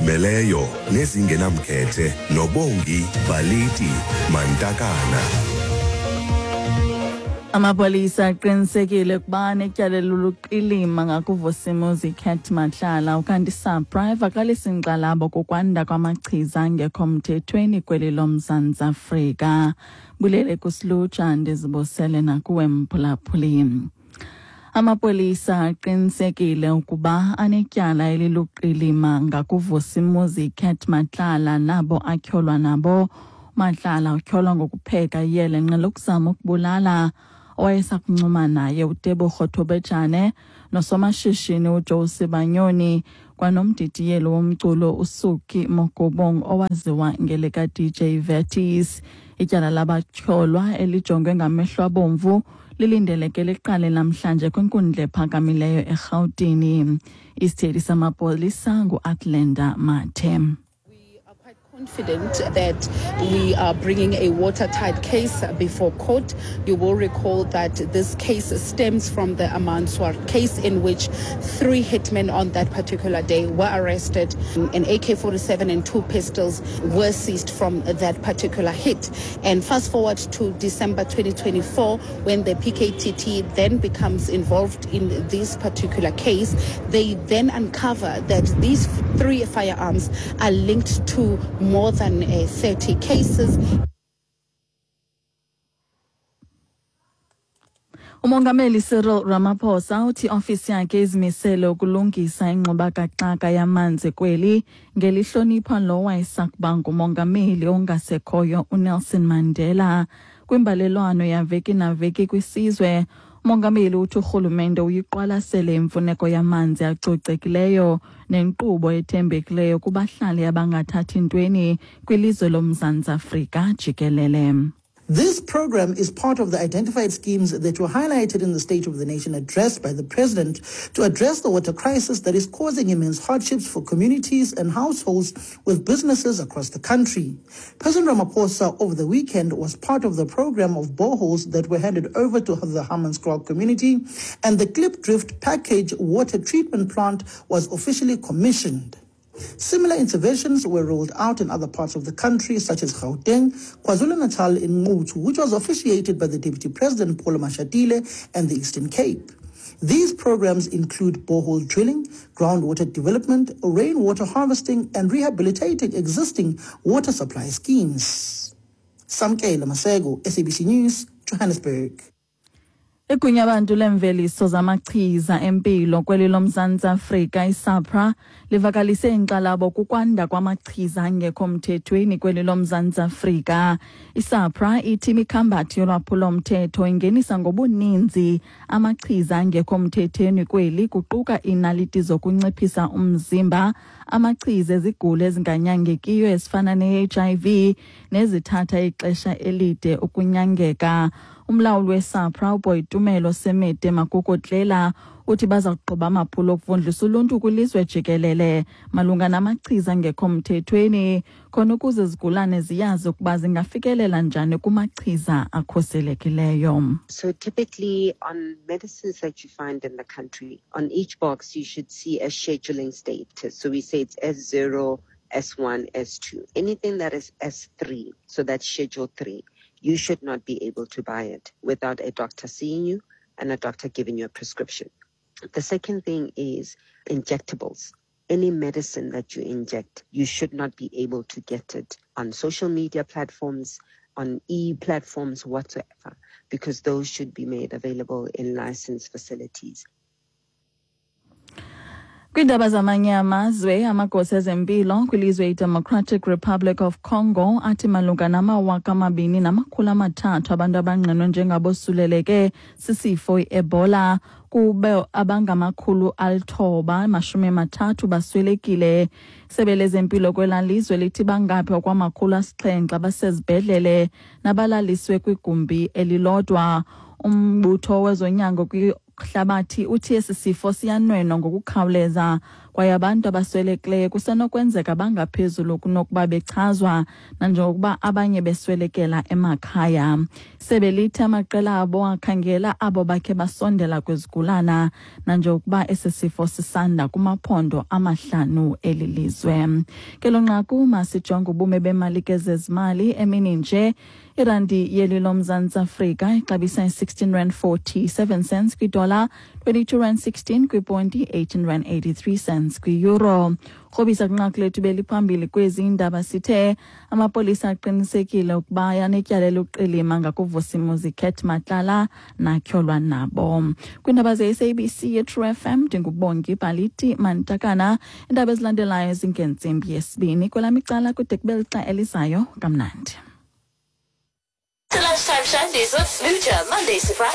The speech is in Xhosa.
Ezizimeleyo nezingenamkhethe noBongi Baliti Mantakana. Amapolisa aqinisekile ukuba netyala eluluqilima ngakuVusimuzi Cat Matlala, ukanti iSAPRA ivakalisa inkxalabo kukwanda kwamachiza angekho mthethweni kweli loMzantsi Afrika. Bulele kusilutsha, ndizibusele nakuwe mphulaphuli. Amapolisa aqinisekile ukuba anetyala eliluqilima ngakuVusimuzi Cat Matlala nabo atyholwa nabo. Matlala utyholwa ngokupheka iyelenqe lokuzama ukubulala owayesakuncuma naye uTebogo Thobejane nosomashishini uJoe Sibanyoni kwanomdidiyeli womculo uSuki Mogobong owaziwa ngelika-DJ Vertis. Ityala labatyholwa elijongwe ngamehlo abomvu lilindeleke liqale namhlanje kwinkundla ephakamileyo eRhawutini. Isithethi samapolisa ngu-Athlenda Mathe. Confident that we are bringing a watertight case before court. You will recall that this case stems from the Amanswar case, in which 3 hitmen on that particular day were arrested. An AK-47 and 2 pistols were seized from that particular hit. And fast forward to December 2024, when the PKTT then becomes involved in this particular case, they then uncover that these 3 firearms are linked to more than 30 cases. Umongameli Cyril Ramaphosa uthi ofisi yakhe izimisele ukulungisa ingxubakaxaka yamanzi kweli ngelihlonipha lo wayesakuba ngumongameli ongasekhoyo uNelson Mandela. Kwimbalelwano yaveki naveki kwisizwe, umongameli uthi urhulumente uyiqwalasele imfuneko yamanzi acocekileyo nenkqubo ethembekileyo kubahlali abangathathi ntweni kwilizwe loMzantsi Afrika jikelele. This program is part of the identified schemes that were highlighted in the State of the Nation address by the President to address the water crisis that is causing immense hardships for communities and households with businesses across the country. President Ramaphosa over the weekend was part of the program of boreholes that were handed over to the Hammanskraal community, and the Klipdrift package water treatment plant was officially commissioned. Similar interventions were rolled out in other parts of the country, such as Gauteng, KwaZulu-Natal in Nquthu, which was officiated by the Deputy President Paul Mashatile, and the Eastern Cape. These programs include borehole drilling, groundwater development, rainwater harvesting, and rehabilitating existing water supply schemes. Samkela Masego, SABC News, Johannesburg. Igunyabantu lemveliso zamachiza empilo kweli loMzantsi Afrika iSAPRA livakalise inkxalabo kukwanda kwamachiza angekho mthethweni kweli loMzantsi Afrika. ISAPRA ithi imikhambathi yolwaphulomthetho ingenisa ngobuninzi amachiza angekho mthethweni kweli, kuquka iinaliti zokunciphisa umzimba, amachiza ezigulo ezinganyangekiyo ezifana ne-HIV nezithatha ixesha elide ukunyangeka. Umlawuli weSAPRA uBoitumelo Semete Makokotlela uthi baza kuqhuba amaphulo okuvundlisa uluntu kwilizwe jikelele malunga namachiza angekho mthethweni, khona ukuze izigulane ziyazi ukuba zingafikelela njani kumachiza akhuselekileyo. So typically on medicines that you find in the country, on each box you should see a scheduling status. So we say it's S0, S1, S2. Anything that is S3, so that's Schedule 3, you should not be able to buy it without a doctor seeing you and a doctor giving you a prescription. The second thing is injectables. Any medicine that you inject, you should not be able to get it on social media platforms, on e-platforms whatsoever, because those should be made available in licensed facilities. Kwiindaba zamanye amazwe, amagosa ezempilo kwilizwe iDemocratic Republic of Congo athi malunga nama-2300 abantu abangqinwe njengabosuleleke sisifo i-Ebola, kube abangama-930 baswelekile. Isebe lezempilo kwelaa lizwe lithi bangaphi kwama-700 abasezibhedlele nabalaliswe kwigumbi elilodwa. Umbutho wezonyango hlabathi uthi esi sifo siyanwenwa ngokukhawuleza Kwaye abantu abaswelekileyo kusenokwenzeka bangaphezulu kunokuba bechazwa, nanjengokuba abanye beswelekela emakhaya. Sebe lithi amaqela abo akhangela abo bakhe basondela kwizigulana, nanjengokuba esi sifo sisanda kumaphondo 5 eli lizwe. Kelo nqaku masijonge ubume bemali ke zezimali emini nje. Irandi yeli loMzantsi Afrika ixabisa i-16 rand 47 cents kwidola, 22 rand 16 kwiponti, 18 rand 83 cents kwi-euro. Krobisa kwinqaku lethu beliphambili kwezi ndaba sithe amapolisa aqinisekile ukuba anetyala eluqilima ngakuVusimuzi Cat Matlala natyholwa nabo. Kwiindaba ze-SABC ye-True FM, ndinguBongi Baliti Mantakana. Iindaba ezilandelayo zingentsimbi yesibini. Kwelam icala kude kube lixa elizayo, kamnandi. The Lunchtime Shandies with Smoocher, Mondays to Fridays.